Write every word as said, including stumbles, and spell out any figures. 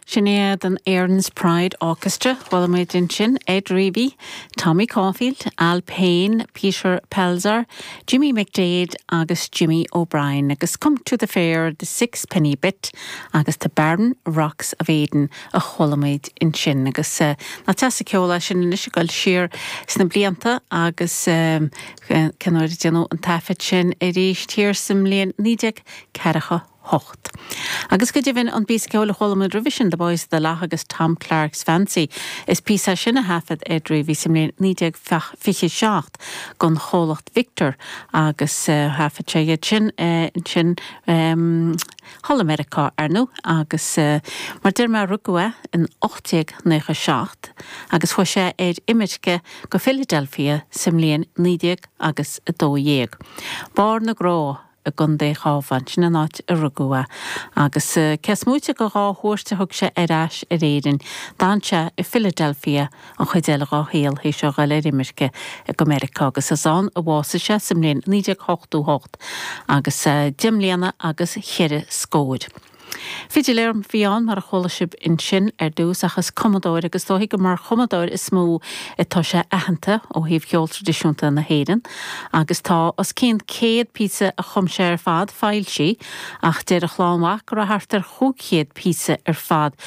Sin iad an Erin's Pride Orchestra chuala muid ansin Ed Reavy, Tommy Caulfield, Al Payne, Peter Pelzer, Jimmy McDade agus Jimmy O'Brien agus Come to the Fair the Sixpenny Bit agus the Barren Rocks of Aden a chuala muid ansin agus uh, nach deas an ceol é sin anois ag dul siar sna blianta agus um, cén uair a déanadh an taifead sin arís thiar sa mbliain naoi déag ceathracha hocht. Agus go deimhin an píosa ceoil a chuala muid roimhe sin The Boys of the Lough agus Tom Clark's Fancy. Is píosa sin a thaifead Ed Reavy sa mbliain naoi déag fiche seacht don chomhlacht Victor agus uh, thaifead sé iad sin uh, sin um, thall i Meiriceá ar ndóigh agus uh, mar deir mé rugadh é in ocht déag nócha seacht agus chuaigh sé ar imirce go Philadelphia sa mbliain naoi déag agus a dó dhéag. Barr na Grá i gContae an Chabháin sin an áit a rugadh é agus uh, cés moite de dhá chuairt a thug sé ar ais ar Éirinn, d'fhan sé i Philadelphia an chuid eile dá shaol théis a dhul ar imirce go Meiriceá agus is ann a bhásaigh sé sa mbliain naoi déag ochtó hocht agus uh, deich mbliana agus cheithre scór. Fidiléir a bhí ann mar a chuala sibh ansin ar dtús agus cumadóir agus dóigh go mar chumadóir is mó atá sé aitheanta ó thaobh cheol traidisiúnta na hÉireann, agus tá os cionn céad píosa a chum sé ar fad foilsithe ach deir a chlann mhac go raibh thart ar chúig chéad píosa ar fad